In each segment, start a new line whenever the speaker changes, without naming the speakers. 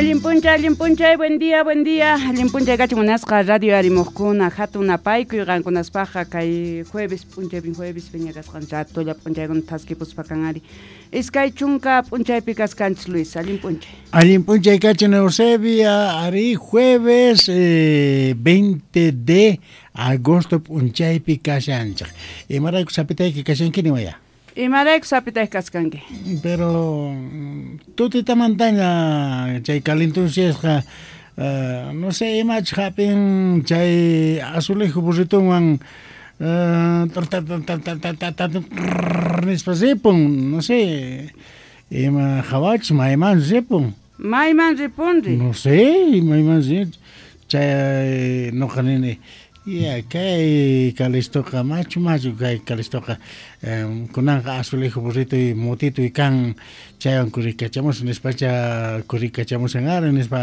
Allin p'unchay, allin p'unchay, buen día, buen día. Allin p'unchay kachun munasqa radio arimuqkuna, hatun napaykuy qankunaspaqqa kay jueves p'unchaypin jueves piña kasqan ratolla p'unchaykuna thaskipuspa kan ari. 20 p'unchaypi kaskanchis Luis, allin p'unchay.
Allin p'unchay kachun Eusebia, ari jueves 20 de agosto p'unchaypi kashanchik. Imarayku sapitayki kashanki niwaya?
Imarayku sapitayki kaskanki?
Pero tutitamantaña chay calentunciasqa no sé imachus hap'in chay azulejo burritonwan nispa ripun, no sé ima hawachus maymanchus ripun.
Mayman ripunri?
No sé, mayman chay noqa nini ya kay Calistoqa machu machu kay Calistoqa kunanqa azulejo burritoy motitoy kan chaywan kurikachamusan nispacha kurikachamusan ari nispa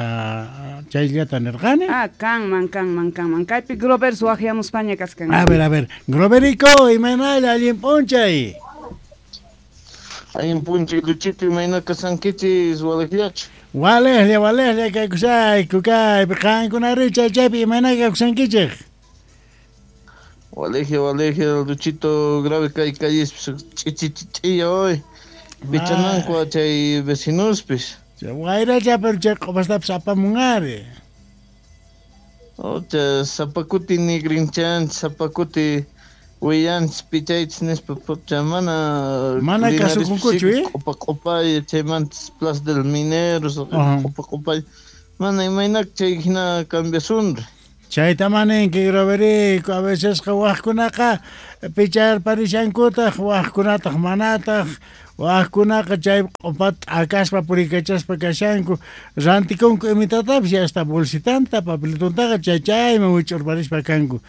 chayllata nirqani.
Ah, kanman, kanman, kanman. Kaypi Grover waqyamuspaña kaskan.
A ver, Groverico, imaynalla allin p'unchay.
Allin p'unchay, Luchito, imayna kasankichis walejllachu.
Walejlla, walejlla kaykusayku kaypi qankunari chay chaypi imayna kaykusankichik.
Walejlla, walejlla, Luchito, grave kay calles ch'ichichich'iya hoy. Pichananku chay vecinospis.
Wayracha pero chay q'upastapis apamun ari.
Ocha sapakuti nigrinchan, sapakuti willanchis pichaychis nispa pucha mana
mana kasukunkuchu, eh?
Q'upa q'upay chaymantas Plaza del Minero, q'upa q'upay mana imaynak chay hina cambiasunri.
Chayta maninki Groverico, a vecesqa waqkunaqa picharparishankutaq, waqkunataq manataq, waqkunaqa chay q'upata t'akaspa purikachaspa kashanku, rantikunku imitatapis hasta bolsitanta, papelitontaqa chay chayman wich'urparispa kanku.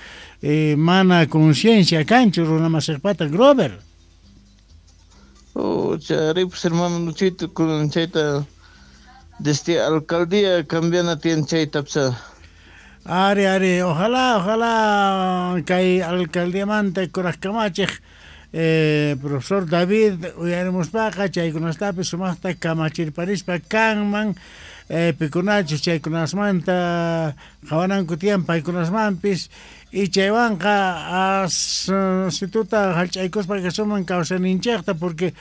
Mana conciencia kanchu runa masiqpata Grover.
Oh, charipus hermano Luchito, kunan chayta desde alcaldía cambiana tiene chayta psa.
Ari, ari, ojalá, ojalá kay alcaldiamanta kuraj kamachej profesor David uyarimuspaqa chaykunastapis sumaqta kamachirparispa kanman pikunachus chaykunasmanta qhawananku tiyan paykunasmanpis y chaywanqa as situta hallch'aykuspa kasuman kawsayninchikta porque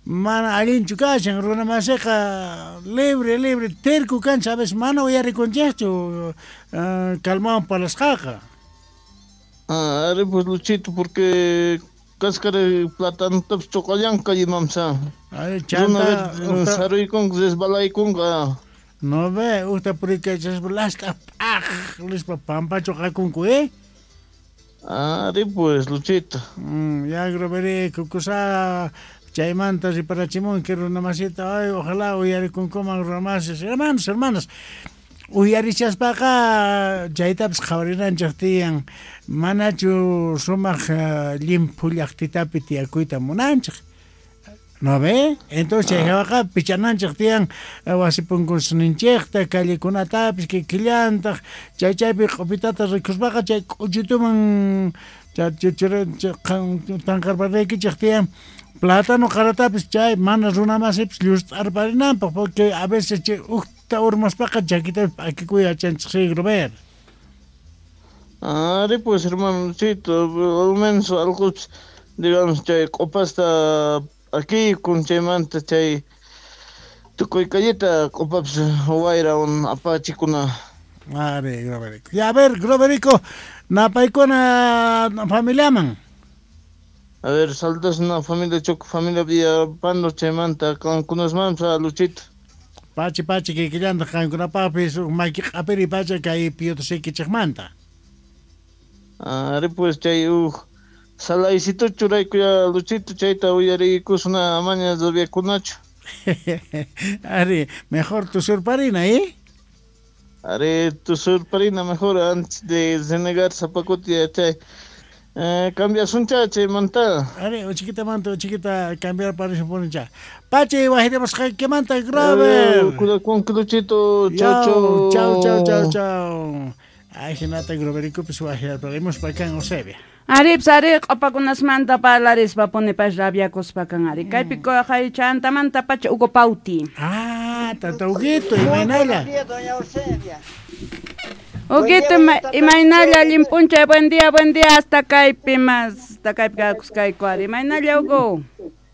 mana allinchu kashan runa masiqa libre libre terco kanchik a veces mana uyarikunchikchu calmawan parlasqaqa.
Ah, ari pues Luchito porque cáscara platanotapis choqallanka imamsa.
Ay, chanta
saruykunqa resbalaykunqa.
No ve, usta purikachaspa last'a p'aj nispa pampachu qakunku, eh?
Ari pues Luchito.
Ya Groverico kusa chaymanta riparachimunki runa masita, ay ojalá uyarikunkuman runa masis, hermanos, hermanas. Uyarichaspaqa chaytapis qhawarinanchik tiyan, manachu sumaq llimphu llaqtitapi tiyakuyta munanchik. ¿No ve? Entonces chay hawaqa pichananchik tiyan wasi punkusninchikta, callekunatapis kikillantaq, chay chaypi q'upitata rikuspaqa chay k'uchituman tanqarparaykichik tiyan. Plátano qaratapis chay mana runa masipis llust'arparinanpaq porque a veces chay ukta urmaspaqa chakitapis p'akikuy yachanchik sí, Grover.
Ari pues hermano Luchito, al menos algo digamos chay q'upasta aquí con chaymanta chay tukuy calleta q'upapis wayra un apachikuna.
Ari Groverico. Ya a ver Groverico, napaykuna familiaman.
A ver, saludos una familia Choco, familia Villapando, chaymanta, qankunasmanpas Luchito.
Pachi, pachi, kikillantaq qankunapaqpis maki q'apiri pacha kay piyutasaykichikmanta.
Ari pues chay uj salaycito churaykuya Luchito, chayta uyariykusuna amaña rabiakunachu.
Ari, mejor tusurparina, ¿eh?
Ari, tusurparina mejor antes de renegar zapakuti chay. Cambiasuncha chaymanta.
Ari, uchiquitamanta, uchiquita cambiar para cha. Pachi, wajirimusqaykimanta, Grover.
Con Luchito, chau, chau.
Chau, chau, chau, chau. Ay, hinata Grovericopis wajiraparimuspa kan Eusebia.
Arips ari q'upakunasmanta parlarispa punipash rabiakuspa kan ari. Kaypi chantamanta pacha Hugo Pauti.
Ah. Ah, tata Huguito, imaynalla.
Doña Eusebia.
Huguito, imaynalla allin p'unchay, buen día, hasta kaypi más, hasta kaypi kakusqayku ari. Imaynalla, Hugo.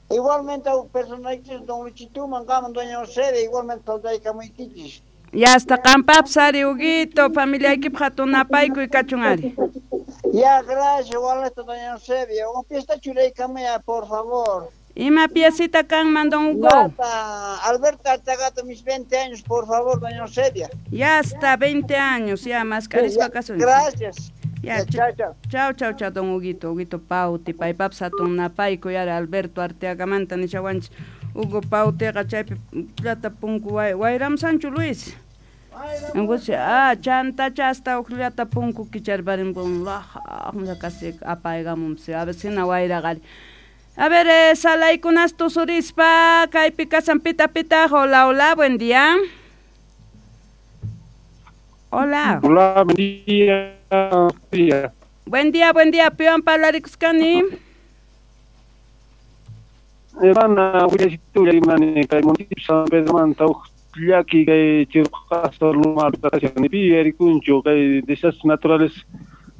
Igualmente personalmente don Luchituman, gaman doña Eusebia, igualmente saludaykамuykichis.
Ya hasta qampapis ari, Huguito, familiaykipaq hatun napaykuy kachun ari.
Ya, gracias, igualmente doña Eusebia. Un fiesta churaykamaya, por favor.
Ima piecita kanman, don Hugo.
Alberto Arteaga, mis 20 años, por favor, doña Eusebia.
Ya hasta 20 años, ya, más carisma caso.
Gracias.
Ya,
chao, chao.
Chao, chao, chao, don Huguito, Huguito Pauti, paypapis hatun napaykuy ari Alberto Arteagamanta nishawanchis. Hugo Pautiqa chaypi llata punku wayramsanchu Luis. Ah, chantacha hasta ujllata punku kicharparin laja casi apaygamunsi a ver sina wayraqari. A ver, salaykunas tusurispa kaypi kasan pita pita. Hola, hola, buen día. Hola.
Hola, buen día.
Buen día, buen día. Piwan parlarikusqani.
Hermana, willasitulla kay municipio San Pedromanta llaki kay chirqasa lumapita kashan pi yarikunchu kay desastres naturales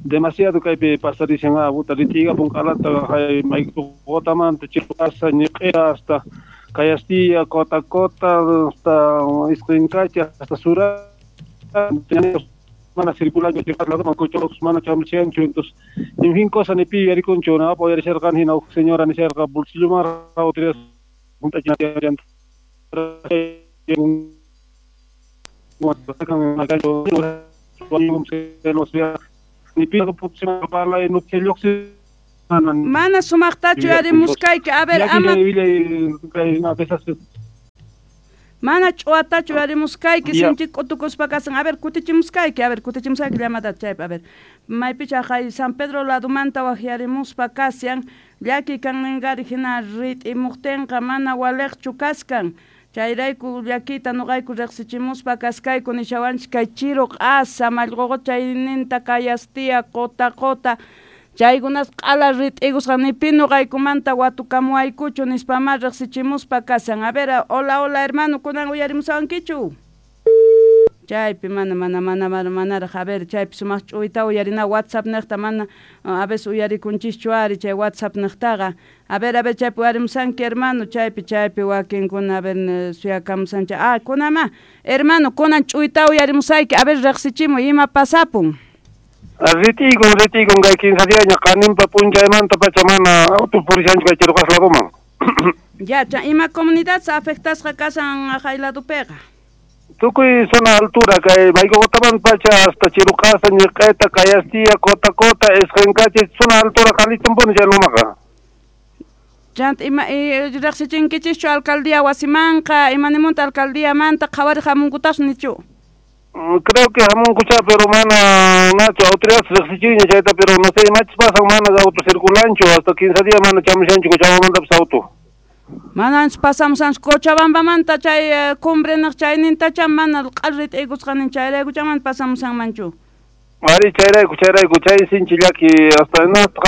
demasiado kaypi pasarishan abuta ritigapun q'alata kay Mayqotamanta chirqasa ñiq'ira hasta Cayastilla, Cota Cota, hasta Isqincacha, hasta Sura, mana circulanchu chirqasa ladoman cochos mana chamchanchu, entonces en fin cosa ni pi yarikunchu na apoyar hina señora nisharqa bolsillo autoridades
Mana sumaqtachu yarimusqayki. A ver, ama mana ch'uwatachu yarimusqayki, sinchi k'utukuspa kasan. A ver, kutichimusqayki, a ver, kutichimusqayki llamadata chaypi. A ver, maypicha hay San Pedro ladumanta waqyarimuspa kasyan, llaki kanninqari hina rit'imuqtinqa mana waliqchu kaskan. Chayrayku llakita nuqayku riqsichimuspa kaskayku nishawanchis kay chiru q'asa mallquqa chayninta Cayastilla, Cota Cota chaykunas q'ala rit'ikusqa ni pi nuqaykumanta watukamuwaykuchu nispama riqsichimuspa kasan. A ver, hola, hola hermano, kunan uyarimusawankichu? Chaypi mana manaraq. A ver, chaypi sumaq ch'uyta uyarina WhatsApp niqta mana a veces uyarikunchischu ari chay WhatsApp niqtaqa. A ver, chaypi uyarimusanki hermano, chaypi wakinkuna a ver suyakamusancha. Ah, kunama, hermano, kunan ch'uyta uyarimusayki. A ver, riqsichimuy ima pasapun.
Ritikun kay 15 diaña qaninpa p'unchaymanta pacha mana auto purishanchu kay chirqas ladoman.
Ya, ima comunidad se afectasqa kasan haqay ladopiqa?
Tukuy zona altura kay Mayqotaman pacha hasta Chiruqasa, Ñiq'eta, Cayastilla, Cota Cota, Isqincachi, zona altura qalitunpuni chay lumaqa.
Chanta ima riqsichinkichischu alcaldía wasimanqa, imanimunta alcaldíamanta qhawariq hamunkutas nichu?
Creo que hamunkucha, pero mana nachu autoridades riqsichinña chayta, pero no sé imachis pasan mana auto circulanchu hasta 15 días mana chamushanchu Cochabambamantapis auto.
Mananchis pasamusanchis Cochabambamanta chay cumbre niq chaynintacha mana q'al rit'ikusqanin chayraykucha mana pasamusanmanchu.
Ari chayrayku chay sinchi llaki hasta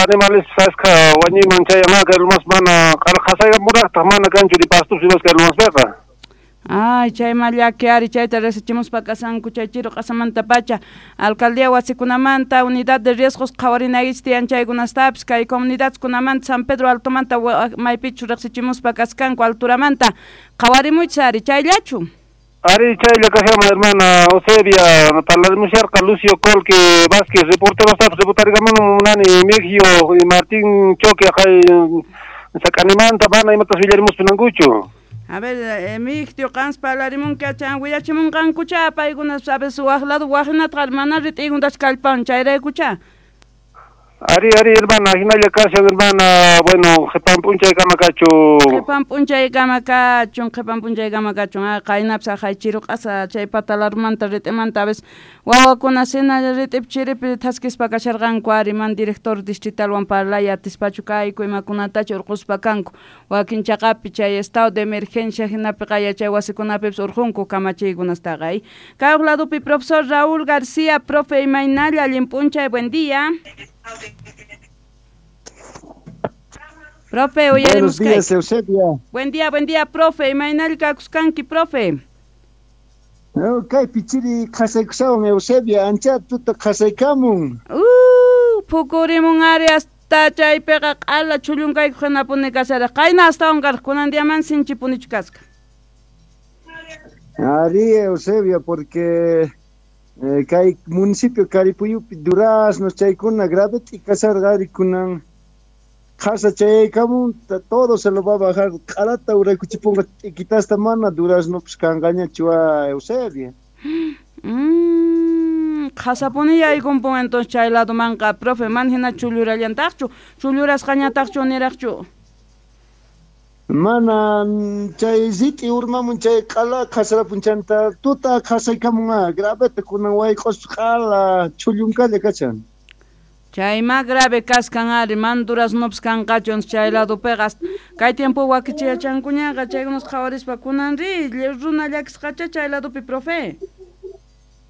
animales sasqa wañuyman chayanqa kay lumas mana qasaykamuraqtaq mana kanchu ni pastupis imas kay lumaspiqa.
Ay, chayma llaki ari chayta riqsichimuspa kasanku chay chiru q'asamanta pacha alcaldía wasikunamanta unidad de riesgos qhawarinaykichis tiyan chaykunastapis kay comunidadkunamanta San Pedro Altomanta maypichu riqsichimuspa kaskanku alturamanta qhawarimuychis ari chayllachu.
Ari chaylla kashaman hermana Eusebia parlarimusharqa Lucio Colque Vázquez reportero reportarikamunu munani Mejio y Martín Choque hay sakanimanta mana imatas willarimuspunankuchu.
A ver, Emigdio, qans parlarimunqa chan willachimunqankucha paykuna sabes waq lado waqhinatqa mana rit'ikuntachu kallpan chayraykucha.
Ari hermana, hinalla kashan hermana, bueno, qhipan p'unchaykama kachun.
Qhipan p'unchaykama kachun. Qaynapis haqay chiru q'asa chay patalarmanta rit'imanta a veces wawakuna sina rit'ipi chiripi thaskispa kasharqanku ari man director distritalwan parlay atispachu kayku imakunatachu urquspa kanku wakin chaqapi chay estado de emergencia hinapi chay wasikunapipis urqunku kamachiykunastaqa. Kay ladopi profesor Raúl García, profe imaynalla allin p'unchay, buen día. Profe,
Buenos días, Eusebia.
Buen día, profe. Imaynalla kakusqanki, profe.
Kaypi chiri qhasaykushawan Eusebia, ancha tuta qhasaykamun.
Phukurimun ari hasta chaypiqa q'ala chhullunkayku hinapuni kasharaq. Qayna astawan karqa kunan diaman sinchipunichu kasqa.
Ari Eusebia, porque kay municipio Caripuyupi duraznos chaykuna grave t'ikasharqa ari kunan qhasa chayaykamun todo se lo va a bajar q'alata uraykuchipunqa t'iquitasta mana duraznopas kanqañachu Eusebia.
Qhasapuni yaykunpun entonces chay ladomanqa profe man hina chullurallantaqchu chullurasqañataqchu niraqchu.
Mana chay rit'i urmamun chay q'ala qhasarapun chanta tuta qhasaykamun graveta kunan wayq'ospa q'ala chhullunkalla kachan.
Chayma grave kaskan ari man duraznopas kanqachu chay ladopiqa kay tiempo wakichiyachankuñaqa chaykunas qhawarispa kunan ri runa llakisqacha chay ladopi profe.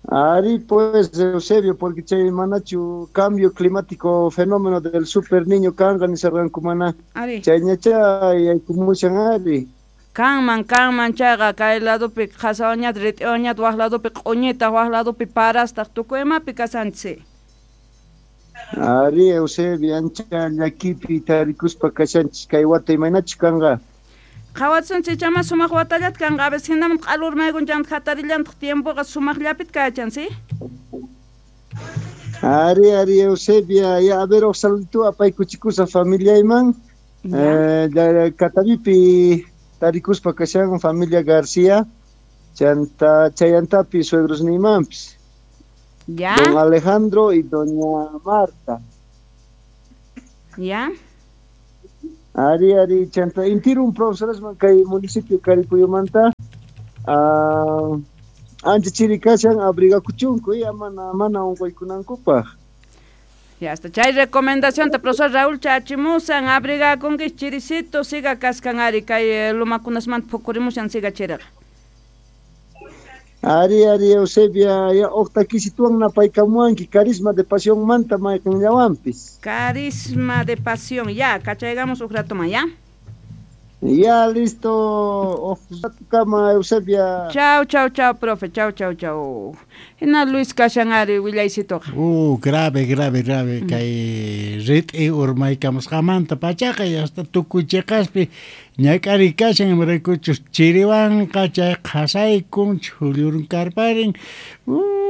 Ari pues Eusebio, porque chay manachu cambio climático fenómeno del super niño kanqa nisarqanku mana. Chayñacha yaykumushan ari.
Kanman chayqa kay ladopi qhasawañata rit'iwañata waq ladopi q'uñita waq ladopi parastaq tukuy imapi kasanchis.
Ari Eusebio, ancha llakipi tarikuspa kashanchis kay wata imaynachu kanqa.
Qhawatsunchis chama sumaq watallata kanqa a veces hinaman q'ala urmaykun chanta hatarillantaq tiempoqa sumaqllapita kachan, ¿sí?
Ari ari Eusebia, ya a ver saludito apaykuchikusaq familiayman. Catavipi tarikuspa kashan familia García, chanta chayantapi suegrosniymanpis.
Ya.
Don Alejandro y doña Marta.
Ya.
Ari ari chanta intirun profesoresman kay municipio Caripuyumanta ancha chiri kashan abrigakuchunku ya mana unquykunankupaq.
Ya hasta chay recomendación te profesor Raúl chachimusan abrigakunki chiricito siga kaskan ari kay lumakunasmanta phukurimushan siga chiriqa.
Ari ari Eusebia ya uqtakisituwan napaykamuwanki carisma de pasión manta mayqinllawanpis.
Carisma de pasión ya kachaygamos uq ratoman ya.
Ya listo uq ratukama Eusebia.
Chau chau chau profe chau chau chau. Hina Luis kashan ari willaysituqa.
Grave grave grave kay rit'i urmaykamusqamanta pachaqa hasta tukuy chiqaspi ñak'ari kashan imaraykuchus chiriwanqa chay qhasaykun chhullurunkarparin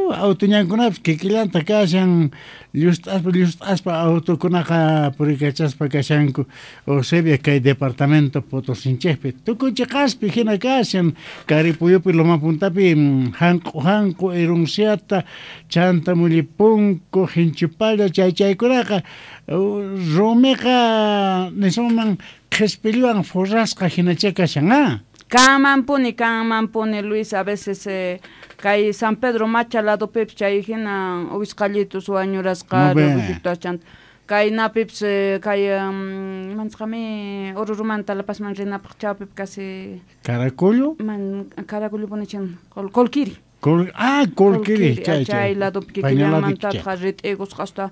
autuñankunapis kikillanta kashan llust'aspa autokunaqa purikachaspa kashanku Eusebia kay departamento Potosinchikpi tukuy chiqaspi hina kashan Caripuyupi Loma Puntapi hanq'u hanq'u Erunciata chanta Mullipunku Hinchupalla chay chaykunaqa rumiqa nisunman qhispilluwan forrasqa hinacha kashan a.
Kanmanpuni Luis a veces kay San Pedro Macha ladopipis chay hina uwisqallitus wañurasqa chanta kay napipis kay mansqami Orurumanta La Pazman rinapaq chawpipi casi
Caracollo
man Caracollo punichan Colquiri.
Colquiri
chay ladopi kikillanmantataq rit'ikusqa hasta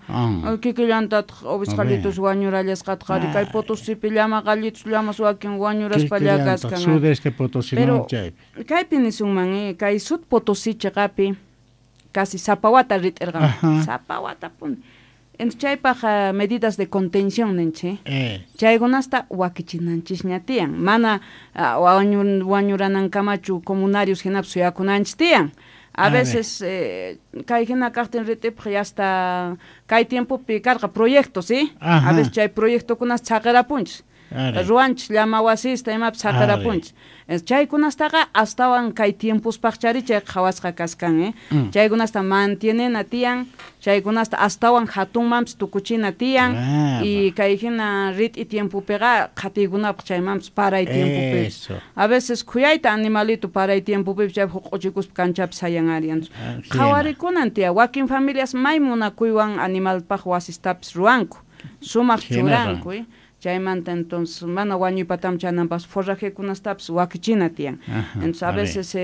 kikillantataq uwisqallitus wañurallasqataq ari kay Potosipi llama qallitus llamas wakin wañuraspalla kaskan.
Sudeste Potosí
pero
chaypi.
Kaypi nisunman kay Sud Potosí chiqapi casi sapa wata rit'irqan sapa watapuni. Entonces chaypaq medidas de contención ninchik. Chaykunasta wakichinanchikña tiyan mana wañuranankamachu comunarios hinapis suyakunanchik tiyan. A veces kay hina kaqtin rit'ipaq ya hasta kay tiempopi karqa proyectos, ¿sí? A veces chay proyectokunas chaqirapunchik. Ruwanchik llama wasista imapis saqirapunchik. Chaykunastaqa astawan kay tiempospaqchari chay qhawasqa kaskan, Chaykunasta mantienena tiyan, chaykunasta astawan hatunmanpis tukuchina tiyan y kay hina rit'i tiempopiqa qhatiykunapaq chaymanpis paray tiempopipis. A veces khuyayta animalito paray tiempopipis chay huq'uchikuspa kanchapis sayan ari. Qhawarikunan tiyan, wakin familias may munakuywan animalpaq wasistapis ruwanku, sumaq churanku. Chaymanta entonces mana wañuypatam chananpas forrajekunastapis wakichina tiyan. Entonces a veces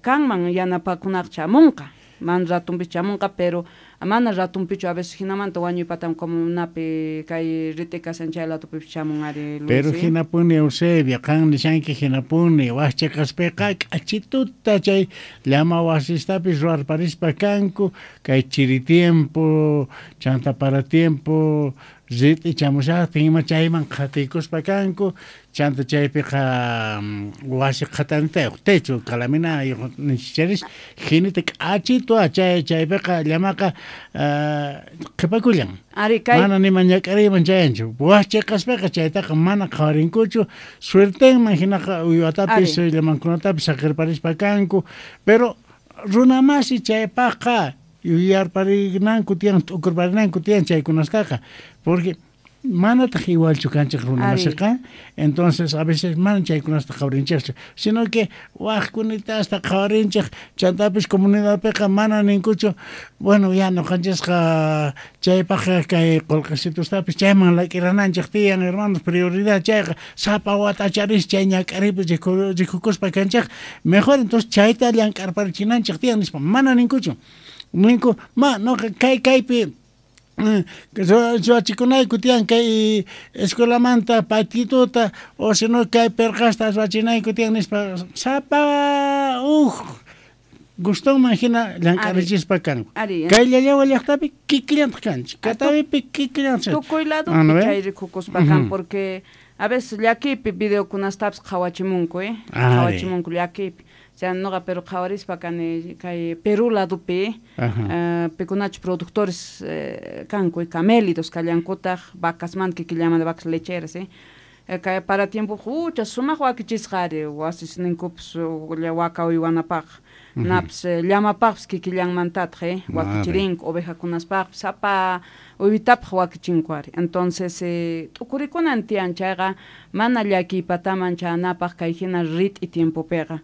kanman yanapakunaqa chamunqa, man ratunpis chamunqa, pero Mana ratunpichu a veces jinamanta wañuypatam comunapi kay rit'i kashan chay ladupipis chamun ari Luis.
Pero hinapuni Eusebia, qan nishanki hinapuni, waj cheqaspiqa k'achituta chay llama wasistapis ruwarparispa kanku, kay chiri tiempo, chanta para tiempo, rit'i chamushaqtin ima chayman qhatiykuspa kanku, chanta chaypiqa wasi qhatantayuq, techo calaminayuq nisharis, jinita k'achitu chay chaypiqa llamaqa qhipakullan.
Ari kay
Mana nima ñak'ariyman chayanchu. Waj cheqaspiqa chaytaqa mana qhawarinkuchu, suertenman hinaqa uywatapis llamankunatapis saqirparispa kanku, pero runamasi chaypaqqa yuyarparinanku tiyan, t'ukurparinanku tiyan chaykunastaqa, porque manataq igualchu kanchik runamasiqa, entonces a veces mana chaykunasta qhawarinchikchu, sino que wajkunitasta qhawarinchik, chantapis comunidadpiqa mana ninkuchu, bueno, ya noqanchisqa chaypaqqa kay qullqisitustapis chayman lak'irananchik tiyan, hermanos, prioridad chayqa, sapa watacharis chay ñak'aripi rikukuspa kanchik, mejor entonces chayta llank'arparichinanchik tiyan nispa, mana ninkuchu. Ninku, ma, noqa kay kaypi ruwachikunayku tiyan kay escuelamanta patituta, o si no kay perqasta ruwachinayku tiyan nispa, sapa uj gustonman hina llank'arichispa kanku. Kay Llallawa llaqtapi kikillantaq kanchik, Catavipi kikillantaq.
Tukuy ladopi chay rikukuspa kan, porque a veces llakipi videokunastapis qhawachimunku, qhawachimunku llakipi. Sea, noqa pero qhawarispa kani kay Perú ladopi, pikunachu productores kanku, camélidos kallankutaq, vacasmanta kikillamanta vacas lecheras, kay para tiempo hucha sumaq wakichisqa ari wasisninkupis waka uywanapaq, napis llamapaqpis kikillanmantataq, wakichirinku ovejakunaspaqpis sapa uywitapaq wakichinku ari. Entonces t'ukurikunan tiyan chayqa mana llakiypataman chanapaq kay hina rit'i tiempopiqa.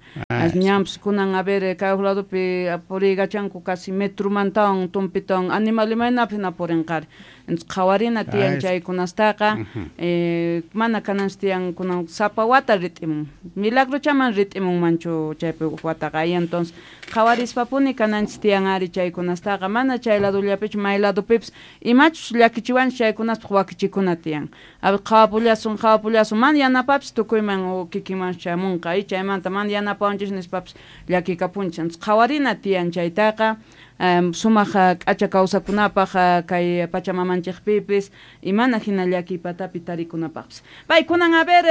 Ñanpis kunan a ver kay ladopi puriykachanku casi metromantawan tumpitawan animal imaynapis hina purinqari. Entonces qhawarina tiyan chaykunastaqa, mana kananchis tiyan kunan sapa wata rit'imun, milagrochaman rit'imunmanchu chaypi wataqa. Entonces qhawarispapuni kananchis tiyan ari chaykunastaqa, mana chay ladollapichu may ladopipis imachus llakichiwanchis chaykunaspaq wakichikuna tiyan. A ver qhawapullasun qhawapullasun mana yanapapis tukuyman o kikinman chamunqa, chaymanta mana yanapawanchis nispapis llakikapunchis. Entonces qhawarina tiyan chaytaqa, sumaq k'acha kawsakunapaq kay pachamamanchikpipis imana hina llakiypatapi tarikunapaqpis. Paykunan a ver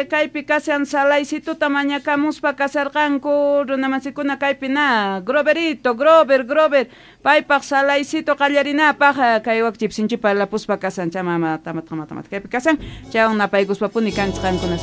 kaypi kashan salaysituta mañakamuspa kasarqanku runamasikuna kaypi na Groverito, Grover, Grover paypaq salaysito qallarinapaq kay wakchip sinchipa lapuspa kasan chamama tamat tamat kaypi kasan chaywan napaykuspapuni kanchik qankunas.